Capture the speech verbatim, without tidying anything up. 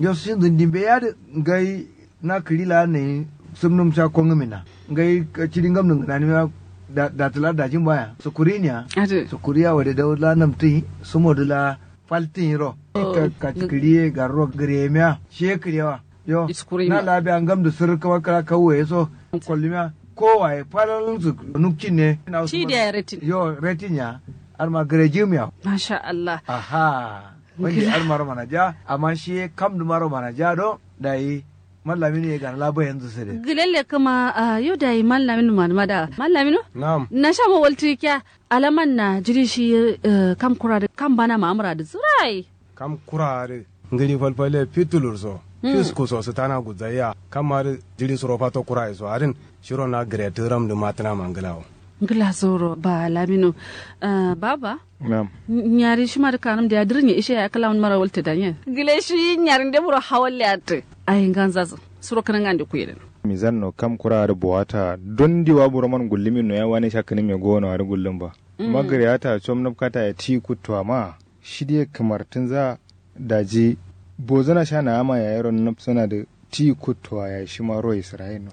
Yo shinzǝ ndimbe yadǝ ngai na kǝri la nayi sǝmnǝm sha kongǝmin na ngai cidi ngamnǝ ngǝnanimiya. Datǝ la dajin baya sukuri niya. Sukuri ya wade dau la namtǝ yi sumodǝ la faltǝ yi ro. Kǝri ye garro gǝremiya shiye kǝrewa. Yo na la biya ngamdǝ sǝrrǝ kǝma kǝra kauwe ye so kollumiya. Kowaye falalnzǝ nukcin ne. Shi diya retin yo retin ya. Arma gǝrejim ya. Masha allah. Aha. Wande armaro manaja amma shiye kamdǝmaro manaja do. Dayi mallaminu ye gana la bayanzǝ sǝdǝ. Gǝlelle kǝma. Yo dayi mallaminu manǝma da mallaminu. Na'am. Nashamo waltǝ kiya alaman na jiri shi. Kam kura dǝ kam bana ma'amura dǝ zǝrai. Kam kura adǝ ngǝri falfalle fitulur so fisku so sǝtana gudzaiya kam adǝ jiri suro fato kura ye so adǝn. Shiro na gǝretǝ ramdǝ matǝna ma ngǝlawo. Ngǝla zoro ba laminu. Baba. Na'am. Nyari shima dǝ kanǝm diya dǝrǝnye ishe yayi kǝla wunumaro waltǝ danyen. Gǝle shi nyarinde buro hawalle attǝ. Ayi nganzazǝ suro kǝnangande kuyedǝn. Mizanno kam kura adǝ bowata dondi wa buroman gullumin no yayi wane sha kǝnǝmme gowono adǝ gullum ba. Magǝreyata com nabkata ye ti kuttuwa ma. Shi diye kǝmartǝnza. Daji bozǝna sha na'ama yayiro nabsǝna dǝ ti kuttuwa yayi shima ro isra'il no.